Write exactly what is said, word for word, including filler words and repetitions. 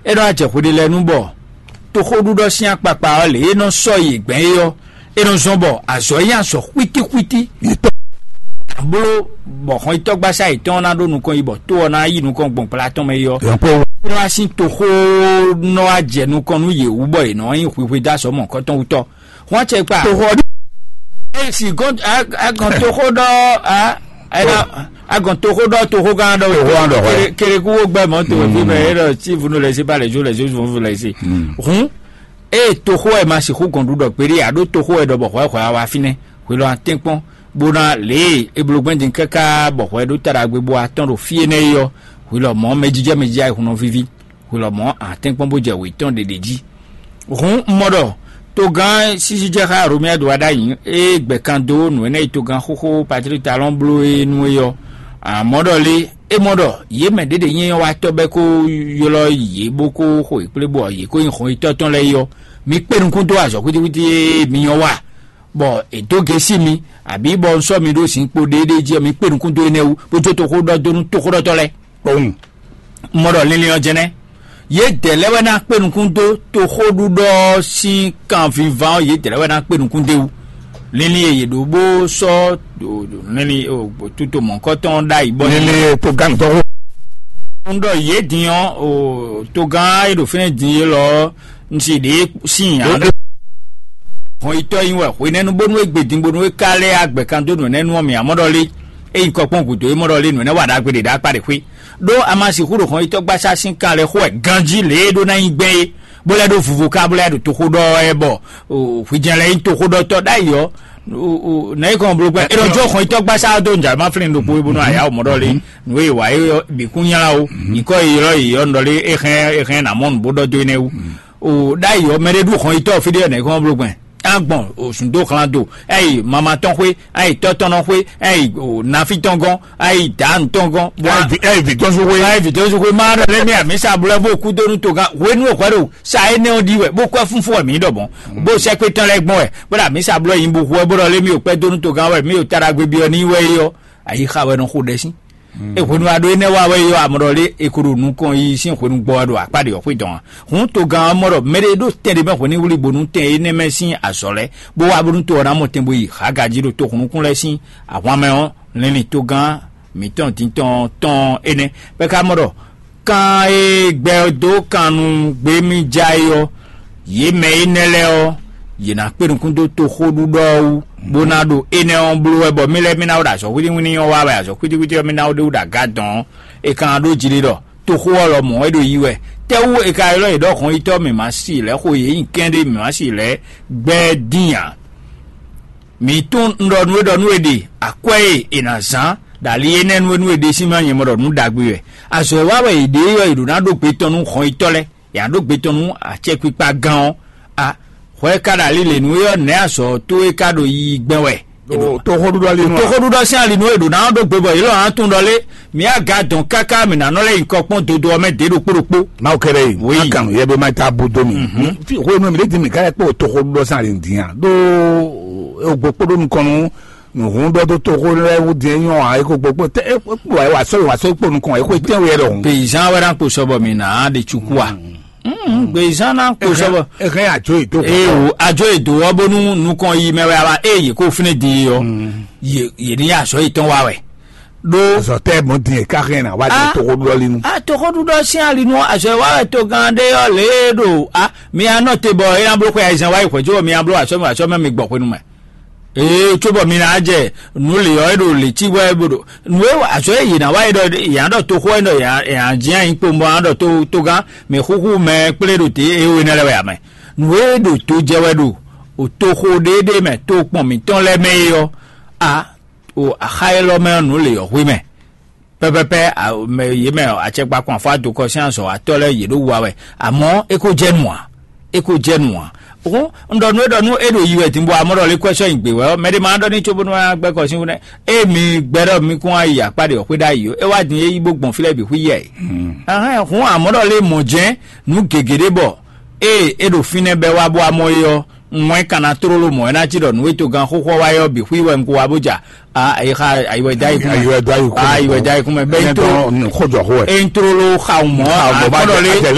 É nɔ wá jɛ hweɖé lɛ́ɛ nu bɔ toxóɖuɖɔ sín akpakpa ɔ́ lě e nɔ sɔ́ yi gbɛn é ɔ́, é nɔ zɔ́n bɔ azɔ̌ nyí azɔ̌ xwítíxwítí. Bló bɔ xɔnyitɔ́gbasá yětɔn ná ɖó nukɔn yi bɔ tó ɔ́ ná yi nukɔn gbɔn gbla tɔn mɛ é ɔ́, é nɔ wá sín toxó nɔ wá jɛ nukɔn nú yě wú bɔ yě nɔ nyí hwihwe dó azɔ̌ mɔ̌hunkɔtɔn wú tɔ́. Hɔn cɛ kpa. Toxo ɔ́ ɖi. Esi gɔn agɔn toxo ɖɔ a ɛna agɔn toxo ɖɔ toxo gã ɖɔ. Toxo gã ɖɔ, kere kere kuwo gbɛ mɔ to fi mɛ e ɖɔ si vunu lɛ si ba lɛ jo lɛ jo vunu lɛ si. Hun eye toxo ɛ ma sixu gɔn ɖu ɖɔ kpeɖi a ɖo toxo ɛ ɖɔ bɔ hwɛ hwɛ wa finɛ hwelɔ atɛnkpɔn bona lě e eblo gbɛn din káká bɔ hwɛ ɖo taɖagbe bo atɔn ɖo fie nɛ yi ɔ hwelɔ mɔ mɛjijɛ mɛjijɛ ayihun nɔ vivi. Hwelɔmɔ̌ atɛ́nkpɔ́n bó jɛ wětɔn ɖeɖe jí. Hǔn un mɔ ɖɔ togán sísí jɛ xá Romia do wá ɖ'ayǐ é gbɛkan dó nǔ énɛ́ e togán xóxó Patrík Talɔ́n bló é nú é ɔ́. Amɔ̌ ɖɔ lé, é mɔ ɖɔ yě mɛ ɖěɖě nyí wa tɔ́ bɛ́ kó ylɔ́ yě bó kó xo yě kplé bɔ yě kó nyí hɔn yětɔn tɔn lɛ́ɛ é ɔ́, mi kpé nukún dó azɔ̌ xwítíxwítí e mi nyɔ́ wa, bɔ è dó gěsí mi, abǐ bɔ un sɔ́ mi ɖó zinkpo ɖéɖéé jí ɔ́, mi kpé nukún dó énɛ́ wú, bó jó toxó ɖɔ dó nú toxóɖɔtɔ́ lɛ́ɛ. Kpowun. Un mɔ ɖɔ linlin ɔ́ jɛnɛ. Yědɛɛ lɛ́ɛ wɛ ná kpé nukún dó toxóɖuɖɔ ɔ́ sín kanviván ɔ́, yědɛɛ lɛ́ɛ wɛ ná kpé nukún dó e wú. Linlin e yě ɖó bó sɔ́ ɖo- ɖo- linlin o- tuto mɔ̌kɔtɔn ɖ'ayǐ bɔ Lele to gán tɔn xó. Un ɖɔ yě din ɔ́, o, togán e ɖo fínɛ́ din é lɔ ɔ́, un si ɖě sín ǎ. Hɔn yitɔ́ nyi wɛ hwenɛ́nu bónú é gbe din bónú é ka lɛ́ agbɛ̀kan dó nǔ énɛ́ nu ɔ́ mì amɔ́ ɖɔ lé. É nyí kɔ kpɔ́n gǔdo é mɔ ɖɔ lé nǔ énɛ́ wa ɖagbe ɖě ɖo akpá ɖě xwé. Ɖó a ma sixú ɖo hɔn yitɔ́ gbasá sín kan lɛ́ xo wɛ ganjí lě e ɖó ná nyí gbɛn é, bó lɛ́ ɖó vuvo ká bó lɛ́ ɖo toxó ɖɔ ɛ bɔ hwíjɛ́n lɛ́ nyí toxóɖɔtɔ́ ɖ'ayǐ ɔ́. Nɛ̌ kɔn bló gbɛn é nɔ jó xɔn yitɔ́ gbasá dó nǔjàmá flin ɖokpó é bónú ayá mɔ ɖɔ lé. Nǔ e wa é bǐ kún nylá ó. Nyǐkɔ e ylɔ́ yě ɔ́ nɔ ɖé é hɛn é hɛn nǎ mɔ nǔ bó ɖɔ dó énɛ́ wú. O ɖ'ayǐ ɔ́ mɛ ɖé ɖu hɔn yitɔ́ fí ɖé nɛ̌ kɔn bló gbɛn. Agbɔn o sùndó xlán do, ayi mama tɔn xwé, ayi tɔ́ tɔn nɔ xwé, ayi o nafi tɔn gɔn, ayi dǎnu tɔn gɔn. Bɔ ayi vi tɔn su xwé. Ayi vi tɔn su xwé ma ɖɔ lé mi amisa blɛ bó kú dónú togán hwenu o hwɛ ɖo sa énɛ́ ɔ́ ɖi wɛ bó kɔ fúnfún wɛ mǐ ɖɔ mɔ̌. Bó sɛkpé tɔn lɛ́ɛ gbɔn wɛ bó ɖo amisa blɔ yin bó hu wɛ bó ɖɔ lé mi o kpɛ dónú togán wɛ mi o taɖagbe byɔ ní wɛ é ɔ́, ayi xa wɛ nɔ xo ɖɛ sín. E hwenu aɖo énɛ́ wa wɛ yɔ amɔɖɔ lé e ko ɖo nukɔn yi sín hwenu gbɔ wɛ ɖo akpá ɖe ɔ́ xwé dɔn a? Hǔn togán ɔ́ mɔ ɖɔ mɛɖé ɖo tɛn ɖé mɛ hwenu wlí bónú tɛn énɛ́ mɛ sín azɔ̌ lɛ́ɛ, bó wá bónú to ɔ́ ná mɔ tɛn bó yi hǎgají ɖo toxunukún lɛ́ɛ sín ahwan mɛ ɔ́, lɛnlin togán mǐtɔn dintɔn tɔn énɛ́. Bɛ́ ka mɔ ɖɔ kan e gbɛ dó kan nú gběmíjá é ɔ́, yě mɛ énɛ́ lɛ́ɛ ɔ́, yě ná kpé nukún dó toxóɖuɖɔ ɔ́ wú, bó ná ɖo énɛ́ ɔ́ bló wɛ bɔ mí lɛ́ɛ mí ná wó ɖo azɔ̌ hwítíhwítí ɔ́ wá wɛ azɔ̌ hwítíhwítí ɔ́ mí ná wó ɖe wú ɖo aga dɔn ɔ́, è ka ná ɖó jlí ɖɔ toxó ɔ́ lɔmɔ̌ é ɖo yi wɛ. Tɛ́wú è ka ylɔ́ yě ɖɔ hɔn yitɔ́ mǐ ma si lɛ̌ xo yě nyi kɛ́n ɖé mǐ ma si lɛ̌ gbɛ́ dín ǎ? Mǐ tunwun un ɖɔ nú we ɖɔ nú we ɖe akwɛ́ e è nǎ zán ɖo ali énɛ́ nu e nú we ɖe sín mɛ ɔ́ nyɛ mɔ ɖɔ nǔ ɖagbe wɛ. Azɔ̌ e wa wɛ è ɖe é ɔ́, è ɖǒ ná ɖó gbe tɔn nú hɔn yitɔ́ lɛ́ɛ, è nǎ ɖó gbe tɔn nú acɛkpikpa gán ɔ́. A hwɛ ka ɖo ali lě nú é ɔ́, nɛ̌ azɔ̌ towe ka ɖo yiyi gbɛn wɛ? Toxóɖuɖɔ ali nu a? Toxóɖuɖɔ sín ali nú è ɖǒ ná ɖó gbe bɔ yě lɔ ná tunwun ɖɔ lé, mǐ aga dɔn káká mǐ ná nɔ lɛ́ nyi kɔ kpɔ́n dodo ɔ́ mɛ dě ɖokpó ɖokpó. Mawu kɛɖɛ yi. Oui. Makan yɛ be ma ta bo do mi. Fi xwe nu mi ɖe di mi ka yɛ kpɔ toxóɖuɖɔ sín ali dín a? Ɖó o gbɔ kpó ɖó nukɔn nu. Nǔhún ɖɔ dó toxó lɛ́ɛ wú din nyɔ ǎ é ko gbogbo tɛ é kpo ɛ wà sɔ́ wà sɔ́ kpo nukɔn é xwe tɛ́nwe yɛ ɖɔhun. Peyizan wɛ ná kpo sɔbɔ mi ná ɖe tsuku a? Peyizan ná kpo sɔbɔ. Ɛhɛn, adzo yi do. Ee o, adzo yi do wɔ bónú nukɔn yi mɛ wɛ a wa eye kó fínɛ din yi ɔ. Yě ní azɔ yi tɔn wa wɛ. Ɖó azɔ tɛ mɔ din ká hɛn na wá di toxó ɖɔ li nu. A toxó ɖuɖɔ sín ali nu azɔ wa wɛ to gán ɖé ɔ lě ɖo a mi anɔ te bɔ é ná bló xwe ayizan wa yi xwɛjó mi abló asɔ mi asɔ mɛ mi gbɔ xwenu mɛ. Ee, cóbɔ mi ná jɛ nǔ lě ɔ́, é ɖo lě cí wɛ é bo ɖo nǔ e azɔ̌ e yě ná wa é ɖɔ yě ná ɖɔ toxó wɛ é ɖɔ yě ná jǐ anyi kpowun bɔ ná ɖɔ tó togán mɛ xúxú mɛ kplé ɖo tě é we nɛ́ lɛ́ɛ wɛ ǎ mɛ. Nǔ e ɖo to jɛ wɛ ɖo o toxó ɖéɖé mɛ to kpɔn mǐtɔn lɛ́ɛ mɛ é ɔ́, a o axa élɔ́ mɛ ɔ́ nǔ lě ɔ́ hwe mɛ. Pɛpɛpɛ, a, mɛ yě mɛ ɔ, acɛkpakun afɔ adokɔ sín azɔ̌watɔ́ lɛ́ɛ yě ɖo wa wɛ, amɔ̌ é ko jɛ nu ǎ, é ko jɛ nu ǎ. Hǔn un ɖɔ nú é ɖɔ nú é ɖo yi wɛ din bɔ amɔ̌ ɖɔ lé kwɛ́ sɔ́ nyi gbě wɛ ɔ́, mɛɖé ma ɖɔ ní cóbónú wɛ gbɛ́ kɔ sín wú nɛ́. Ée mi gbɛ́ ɖɔ mi kún wá yi akpá ɖě ɔ́ xwé ɖ'ayǐ ó, é wá din é yi bó gbɔn fí lɛ́ɛ bǐ xwí yɛ. Ahɛn hǔn amɔ̌ ɖɔ lé mɔ̌ jɛ́n nǔ gěgé ɖé bɔ ée é ɖo fínɛ́ bɛ́ wá bó amɔ́ é ɔ́, wɛn ka ná tlóló mɔ̌ é ná cí ɖɔ nǔ e togán xóxó ɔ́ wá é ɔ́ bǐ xwí wɛ un ko wá bó ja. A ayi xa ayi wɛ dá yi kún mɛ. Ayi wɛ dá yi kún mɛ. Ayi wɛ dá yi kún mɛ. Bɛn tó xɔjɔ xó wɛ. E n tlóló xa mɔ. Xa mɔ bá akpɔ́ ɖɔ lé.